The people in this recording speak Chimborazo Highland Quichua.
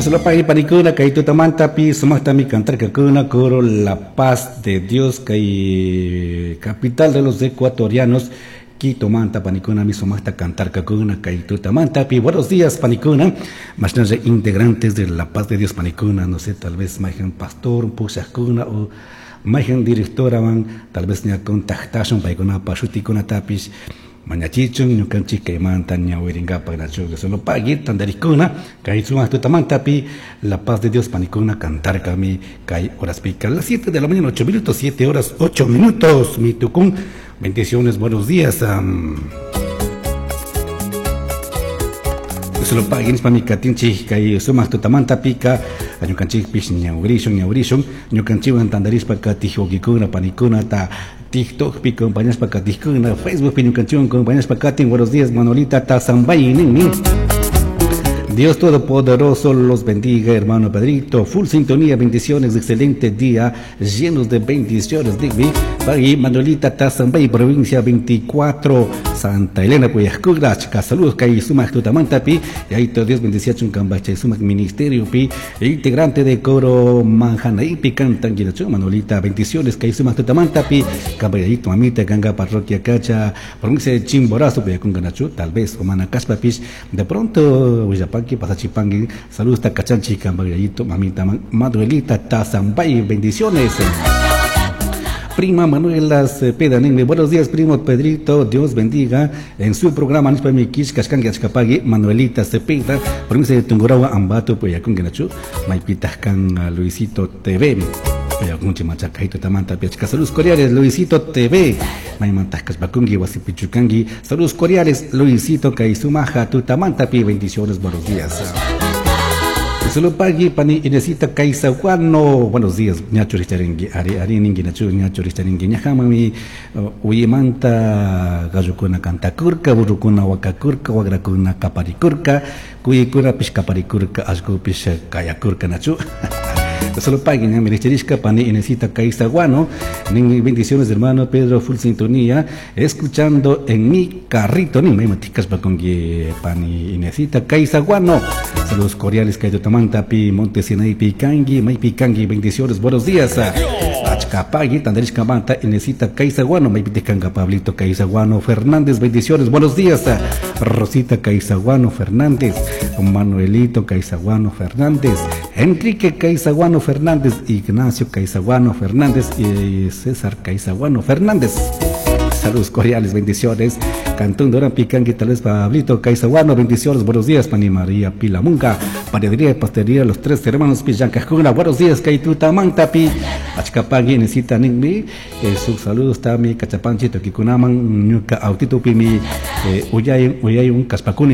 Dios panikuna kay tutamantapi sumaqtami cantarkakuna coro La Paz de Dios kay capital de los ecuatorianos Quito manta panikuna mi sumaqta cantarkakuna kay tutamantapi. Buenos días panikuna, mashnalla integrantes de La Paz de Dios panikuna, no sé, tal vez mayhan pastor pushakuna o mayhan directorawan tal vez ña contactashun paykunapa shutikunatapish mañachichun ñukanchik kaymanta ñawirinkapak nachu solo pagui tantarikuna kay sumaq tutamantapi La Paz de Dios panikuna cantarkami kay horaspika las 7 de la mañana 8 minutos, 7 horas 8 minutos mi tukun. Bendiciones, buenos días. Solo pagui nishpa mi katinchik kay sumaq tutamantapika ñukanchikpish ñawirishun ñawirishun ñukanchikwan tantarishpa katij wawkikuna panikunata TikTokpi compañashpa katijkuna Facebookpi ñukanchikwan compañashpa katin. Buenos días, Manuelita Tazambay ninmi. Dios Todopoderoso los bendiga, hermano Pedrito. Full sintonía, bendiciones, excelente día, llenos de bendiciones. Digby, Pagui, Manuelita Tazambay, provincia 24, Santa Elena, Puyascugra, chica, saludos, Kay Sumac Tutamantapi, y ahí todo Dios bendice a Cambacha, Sumac Ministerio, pi, integrante de coro Manjanaipi, cantan, Manuelita, bendiciones, Kay Sumac Tutamantapi, Cambayito, mamita, Ganga, parroquia Cacha, provincia de Chimborazo, Puyacunganachu, tal vez, Omana Caspapis, de pronto, Huillapaqui, Pasachipanqui, saludos, Tacachanchi, Cambayito, mamita, Manuelita, Tazambay, bendiciones. Prima Manuela Cepeda, ninmi. Buenos días, primo Pedrito. Dios bendiga. En su programa, Nispa Mikish, Kashkangi, Achkapagui, Manuelita Cepeda, provincia de Tungurahua, Ambato, Puyacunguinachu, Maypitajkan, Luisito TV. Puyacunchi, Machacaito, Tamanta, Piachca. Saludos cordiales, Luisito TV. Maymantascas, Bacungui, Wasipichucangui. Saludos cordiales, Luisito, Kaisumaja, Tutamanta, Pi. Bendiciones, buenos días. Solo pagui pani Inesita Kaisaguano. Buenos días, ñacho richaringui, ari ari ningui nachu ñacho richaringui ñajamami uyimanta gallukuna cantakurka, burrukuna wakakurka, wagrakuna kaparikurka, kuyikuna pish kaparikurka, allkupish kayakurka nachu. Solo pagui ñami richarishka pani Inesita Kaisaguano. Ningui bendiciones hermano Pedro, full sintonía, escuchando en mi carrito. Ni me maticas pa con que pani Inesita Kaisaguano. Saludos cordiales, Kayotamanta, Pi, Monte Sinai, Picangui, May Picangui, bendiciones, buenos días. Achcapagui, Tandarishka Manta, Inesita Kaisaguano, May Piticanga, Pablito Kaisaguano, Fernández, bendiciones, buenos días. Rosita Kaisaguano Fernández, Manuelito Kaisaguano Fernández, Enrique Kaisaguano Fernández, Ignacio Kaisaguano Fernández y César Kaisaguano Fernández. Saludos cordiales, bendiciones. Cantón Durán Picangui, tal vez Pablito Kaisaguano, bendiciones, buenos días, Pani María Pilamunga, Panadería y Pastelería, los tres hermanos Pillancajuna, buenos días, Kaituta Mantapi, Achcapagui, Necita Ningmi, sus saludos, Tami, Cachapanchi, Toquikunaman, Ñuca, Autito Pimi, Uyay, Uyay, un Caspacuni.